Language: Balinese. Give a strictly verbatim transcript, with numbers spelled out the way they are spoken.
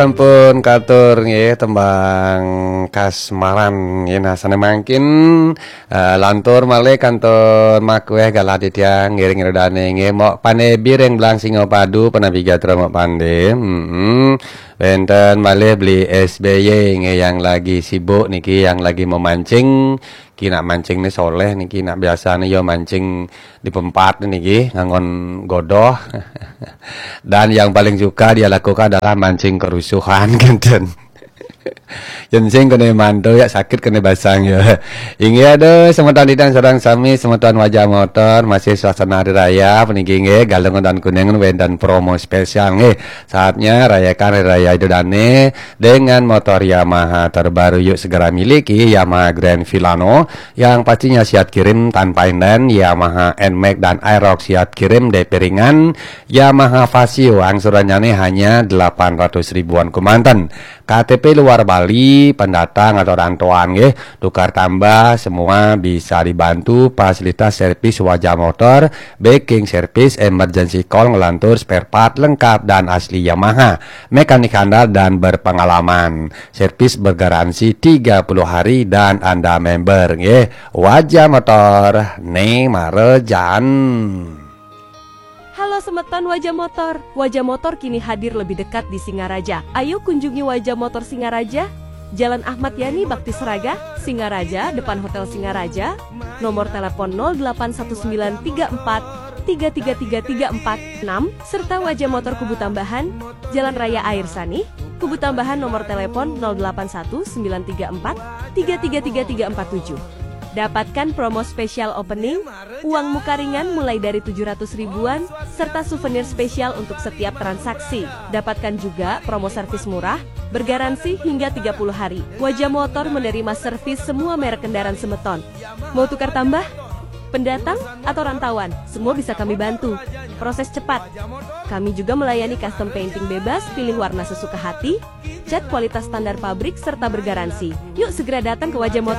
Sampun katur nggih tembang kasmaran nggih, nah sané mangkin, eh, lantur malih kantun makuéh galah titiang ngiring ira dané nggih, Mok Pandé Biring Blang Singapadu, penabi gatra Mok Pandé. Mm-mm. Wénten malih Beli S B Y nggih yang lagi sibuk niki, yang lagi memancing. Ki nak mancing nih soléh niki, nak biasa nih ya mancing di pempat niki nganggon godoh. Dan yang paling suka dia lakukan adalah mancing kerusuhan, kinten. Yen sing kena mantu ya sakit kena basang ya. Inggih, aduh, semeton titiang sareng sami, semeton Wajah Motor, masih suasana hari raya puniki nggih, Galungan dan Kuningan wénten promo spesial nggih. Saatnya rayakan hari raya Idul Adha dengan motor Yamaha terbaru. Yuk segera miliki Yamaha Grand Filano yang pastinya siap kirim tanpa inden, Yamaha Nmax dan Aerox siap kirim D P ringan, Yamaha Fazzio angsurannya nih hanya delapan ratus ribuan kemanten. K T P luar Bali, pendatang atau rantauan nggih, tukar tambah semua bisa dibantu, fasilitas servis Wajah Motor, backing service, emergency call, ngelantur spare part lengkap dan asli Yamaha. Mekanik handal dan berpengalaman. Servis bergaransi tiga puluh hari dan Anda member nggih. Wajah Motor, né marejan. Halo semeton Wajah Motor. Wajah Motor kini hadir lebih dekat di Singaraja. Ayo kunjungi Wajah Motor Singaraja, Jalan Ahmad Yani Bakti Seraga, Singaraja, depan Hotel Singaraja. Nomor telepon nol delapan satu sembilan tiga empat tiga tiga tiga tiga empat enam, serta Wajah Motor Kubu Tambahan, Jalan Raya Air Sani, Kubu Tambahan, nomor telepon nol delapan satu sembilan tiga empat tiga tiga tiga tiga empat tujuh. Dapatkan promo spesial opening, uang muka ringan mulai dari tujuh ratus ribuan, serta souvenir spesial untuk setiap transaksi. Dapatkan juga promo servis murah, bergaransi hingga tiga puluh hari. Wajah Motor menerima servis semua merek kendaraan semeton. Mau tukar tambah? Pendatang atau rantauan, semua bisa kami bantu. Proses cepat. Kami juga melayani custom painting bebas, pilih warna sesuka hati, cat kualitas standar pabrik, serta bergaransi. Yuk segera datang ke Wajah Motor.